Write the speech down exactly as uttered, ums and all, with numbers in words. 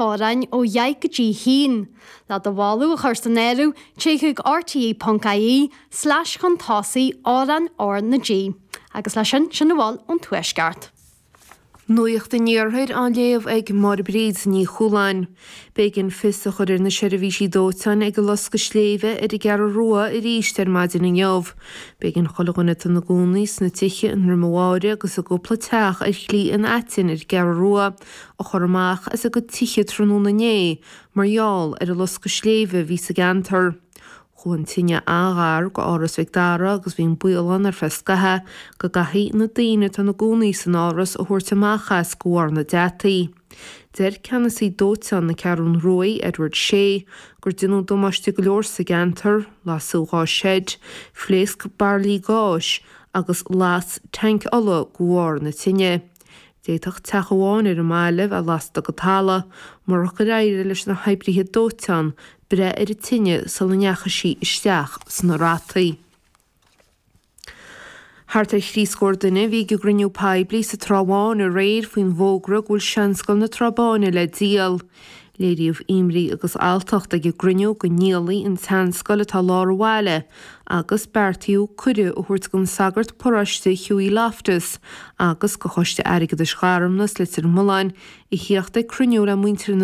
amhráin ó dheich go dtí haon. Le do mholadh a chur san áireamh, téigh chuig rte.ie slash chun tosaigh amhrán R na G. Agus leis sin sin a bhfuil ón Tuaisceart. Nuacht an Iarthair á léamh ag Máire Bríd Ní Chualáin. B'éigean fios a chur ar na seirbhísí dóiteáin ag an loscadh sléibhe ar an gCeathrú Rua arís ar maidin inniu. B'éigean chuile dhuine atá ina gcónaí sna tithe i nDroim an Bháire agus i gcúpla teach ar Shlí an Aitinn ar an gCeathrú Rua a chur amach as a gcuid tithe tráthnóna inné mar gheall ar an loscadh sléibhe a bhí sa gceantar. Chuaigh an tine an-ghar go Áras Mhic Dara agus bhí an baol ann ar feadh scaithimh go gcaithfí na daoine atá ina gcónaí san áras a thabhairt amach as de bharr na deataí. Deir ceannasaí dóiteáin na Ceathrún Ruaidh, Edward Shea, gur déanadh damáiste go leor sa gceantar, lasadh dhá seid, phléasc bairillí gáis agus las tanc ola de bharr na tine. D'fhéadfadh teach amháin ar an mbaile bheith lasta go talamh, murach gur éirigh leis na hoibrithe dóiteáin breith ar an tine sula ndeachaigh sí isteach sna rataí. Thart ar thrí scór duine a bhí ag an gcruinniú poiblí sa Trá Bháin aréir faoin bhfógra go bhfuil Seanscoil na Trá Báine le díol. Léiríodh imní agus alltacht ag an gcruinniú go ndíolfaí an tseanscoil atá i lár an bhaile agus beartaíodh cuireadh a thabhairt don sagart paróiste Hughie Loftus agus do Choiste Airgeadais Gharmna is Leitir Mealláin a theacht ag cruinniú le muintir na